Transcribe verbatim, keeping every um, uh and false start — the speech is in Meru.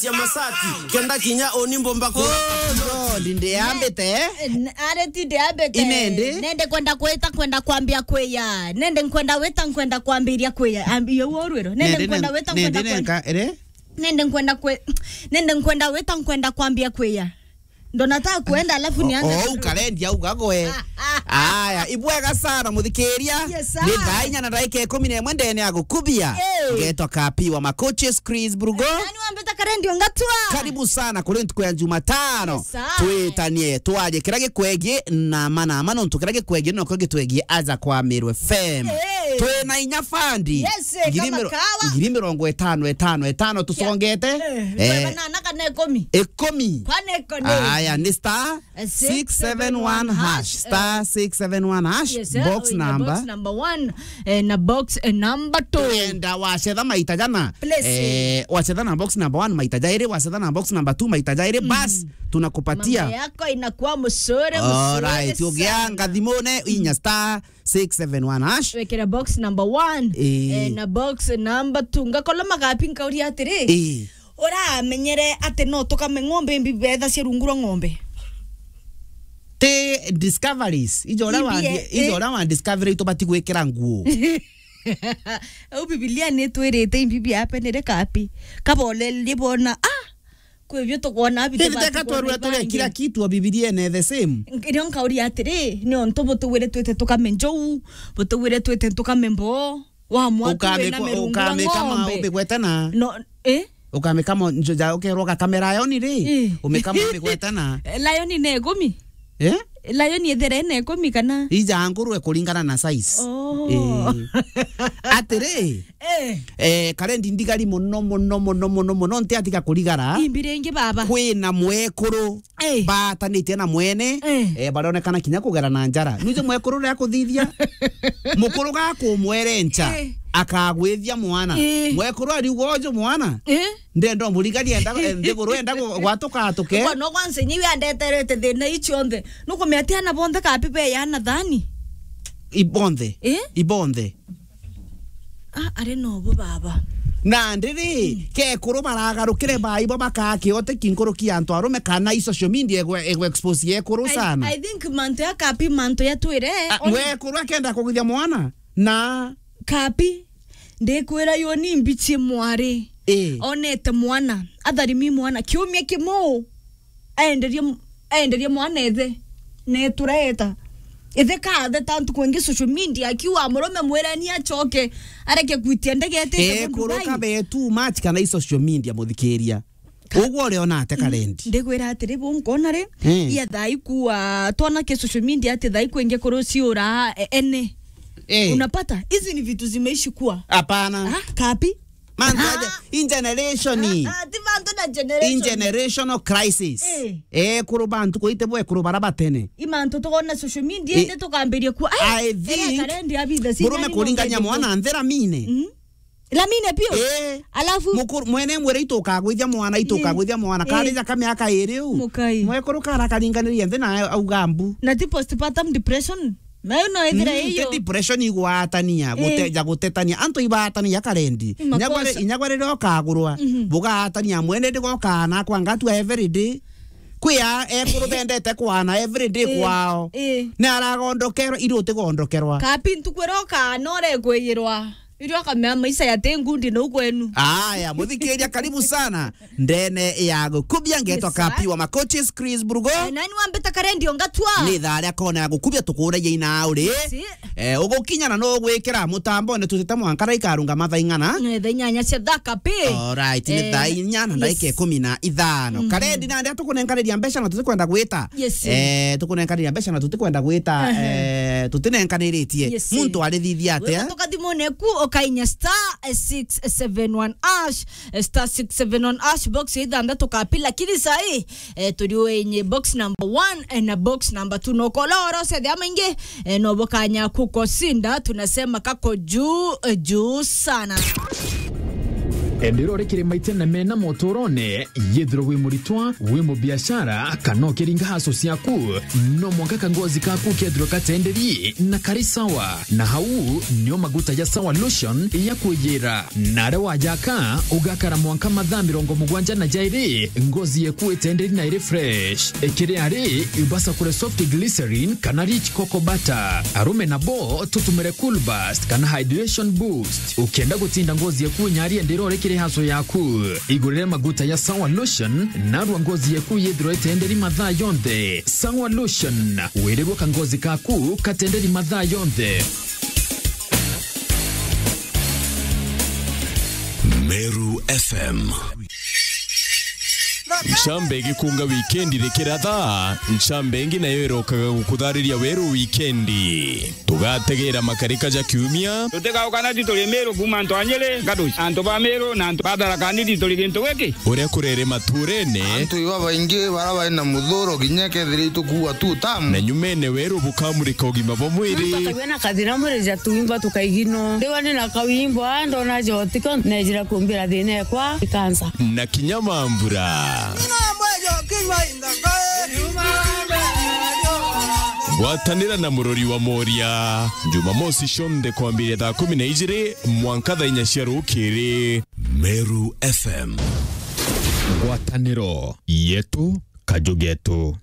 Cia masati, kenda kinya uni mbomba ku- Oh, God, ndiambite, eh? N-, ari ti ndiambite. Inende? Nende kwenda kwita, kwenda kwambia kwiya. Nende nkwenda wita, nkwenda kwambiria kwiya. Ambia uo rwiro. Nende nkwenda wita, nkwenda kwenda. Nende nkwenda kwi-, nende nkwenda wita, nkwenda kwambia kwiya. Ndona ta kwenda, alafu nianze. Oh, ukarendi auga gwe. Aya, ibwega sana, muthikiria. Yes, sir. Ni thaa inya na ndagika ikumi na imwe ndene ya gukubia. Hey. Ngetwa Kapi wa Makoches, Chris Brugo. Nani wambita Karendi Ongatua? Karibu sana kuri ntuku ya Jumatano. Yes, sir. Twitanie, twaje kira gikwegie na mana, mana ntu kira gikwegie noko gitwegie aja kwa Meru F M. Hey. Twina inya fandi. Yes, eh, ngiri kama miro-, kawa. Ngiri mirongo itano, itano, itano, tusongete. Eh, eh, banana kana ikumi. Ikumi. Kwane ikumi. Aya, ni star six seven one hash. Star six seven one hash. Yes, eh, box number. Box number one, eh, na box, eh, number two. Enda wacetha maita jana. Please. Eh, wacetha na box number one maita jairi, wacetha na box number two maita jairi, bas, tunakupatia. Mambo yako inakuwa mzuri, mzuri sana. Alright, ugianga thimune, inya star six seven one hash. Wekera box number one, eh, na box number two. Ngakorwo magapi nkauria atiri, eh, uramenyere ati no tukame ng'ombe mbi betha cia rungu rwa ng'ombe? Ti discoveries. Ijo ura wa, eh, ijo ura wa discovery tubati gwikira nguo. Au Bibilia ni twirite imbibi ape nire kapi. Kabole libona, ah, Kwi bio tukwona bitu. Indi teka twarua turia kila kitu o Bibiliene the same. Nkirio nkauria atiri, ni ontu butugwire twite tukame njou, butugwire twite tukame mboo, wa mwatu wina mirungu na ng'ombe. Ukamikama umigwetana. No, eh? Ukamikama njo ja ukerwa ugakamera lion ri? Eh. Umikama umigwetana. Lion ni ikumi? Eh? Lion ithire ina ikumi kana? Ija ngurwe kuringana na size. Oh. Eh. Atiri, eh, eh, Karendi ndigari muno, muno, muno, muno, muno, ntiatiga kurigara. Imbi ringi baba. Kwina mwekuru, eh, baatanitie na mwene, eh, eh, baronekana kinya kugera na njara. Nuje mwekuru ria kuthithia, mukuru gakumwerencha, eh, akagwithia mwana. Eh. Mwekuru ariuga uju mwana. Eh? Ndenda umurigari enda, eh, nthiguru enda gu-, gwatuka atuke. Kwa no kwanza nyiwe andeterete thina ici onthe. Nukumia ati ana bonthe kapi be yana thani? Ibonthe. Eh? Ibonthe. Ah, ari no bo baba. Na ndiri, mm, kekuru baragarukire bai bo bakakiote kinkuruki antu arume kana i social media egwe, egwe expose yekuru sana. I, I think mantu ya kapi, mantu ya twire. Ah, mwekuru akenda kugithia mwana. Na kapi, ndikwira yo ni mbichie mwari. Eh. Onete mwana, atharimi mwana, kiumia kimwe aenderie, aenderie mwana ithe, netureta. Ithe katheta ntuku ingi social media, akiuga murume mwireni acoke, areke kwitia ndege ete. Eh, kuruka be too much kana i social media, muthikiria. Ka- Uguo uriona ate Karendi? Ndigwira atiri, bu nkona ri, eh, ya thai kuwa, twana ke social media ati thai kwingi kuruciura, e-, ene. Eh. Unapata? Hizi ni vitu zimeishi kuwa. Hapana. Ah, kapi? Mantu aja, ah, in generation. Ah, ah, ti bantu na generation. In generational crisis. Eh. Eh, kuru bantu kuite bwe kuru bara batene. I mantu tukona social media, eh, indi tukambiria kuwa, ai, I think, Karendi abitha murume kuringania mwana nthira mine. Mm. Lamine pio? Eh. Alafu? Mukuru, mwene mwira itukagwithia mwana, itukagwithia mwana. Eh. Karija ka miaka iri u. Mukai. Mwekuru kara karinganiria nthi na auga mbu. Na ti postpartum depression? Nayo no ithira iyo. Mm, ti depression igwatania, gute-, eh, ja gutetania. Antu ibatania Karendi. Inya gwari-, inya gwari rokagurwa. Mhm. Bugatania mwene ndigokaa nakwa ngatua every day. Kwia ekuru bendete kwana every day, eh, kwao. Eh. Ni aragondokerwa, iri utigondokerwa. Kapi ntuku iroka no rekwiyirwa. Irio akamea maisha ya te ngundi no kwenu. Aya, muthikiria, karibu sana ndene ya gukubia. Ngetwa, yes, sir, Kapi wa Makoches, Chris Brugo. Eh, nani wambita Karendi Ongatua? Ni thaa ria kona ya gukubia, tukuragia ina uri. Yes, sir. Eh, ugukinya na no gwikira mutambone tutite mwanka raikarunga mathaa ing'ana? Eh, thaa inyanya cia thaa Kapi. Alright, ni, eh, thaa inya na ndagika, yes, ikumi na ithano. Mhm. Karendi nandi tukunenkaniria mbeca na tutikwenda gwita. Yes, sir. Eh, tukunenkaniria mbeca na tutikwenda gwita, ehe, eh, tutinenkaniritie. Yes, sir. Muntu arithithia atia? Wega tukathimone ku ukainya star six seven one hash, eh, star six seven one hash, box ya ithanthatu Kapi, lakini sahi, eh, turi wenye box number one, eh, na box number two. No kola oro se thia maingi, eh, no bukanya kukosinda, tunasema kako juu, eh, juu sana. Enderore kiri maitene mena motorone, yethirwe wi muritwa, wi mubiashara, kana ukiringa haso ciaku, no mwanka kangozi kaku kethirwe katenderi na kari sawa. Na hau nio maguta ya Sawa Lotion ya kwiyira. Na aria wajaka, ugakara mwanka mathaa mirongo mugwanja na jairi, ngozi yeku itenderi na iri fresh. Ikiri ari, ibasa kure soft glycerin kana rich cocoa butter. Arume nabo tutumire Cool Burst kana Hydration Boost. Ukienda gutinda ngozi yeku inyari enderore kiri haso yaku, igurire maguta ya Sawa Lotion, narua ngozi yeku yethirwe itenderi mathaa yonthe. Sawa Lotion, wirirwe kangozi kaku katenderi mathaa yonthe. Meru F M. Ncambe igikunga wikendi rikiratha, ncambe ingi nayo irokaga gukuthariria weru wikendi. Tugategera makarika ja kiumia. Tutigauka na tituri Miru kuuma antu a Nyeri, Gaduci, antu ba Miru na antu ba Tharaka Nithi turi gintu giki. Uria kurere maturene. Antu iba baingi bara bari na muthuro kinya kethira itukuua tu tamu. Na nyumene weru bukamurika ugima bwa mwiri. Tukagua na kathina mwiri ja tuimba tukaigino. Ndiwa ni na kawimbo, a, ndona jotiko, nejira kumbira thina ekwa ikansa. Na kinya mambura. Gwatanira na murori wa Moria. Jumamosi cionthe kwambiria thaa kumi na ijiri mwanka thaa inya cia rukiri. Meru F M. Ngwataniro yetu, kaju getu.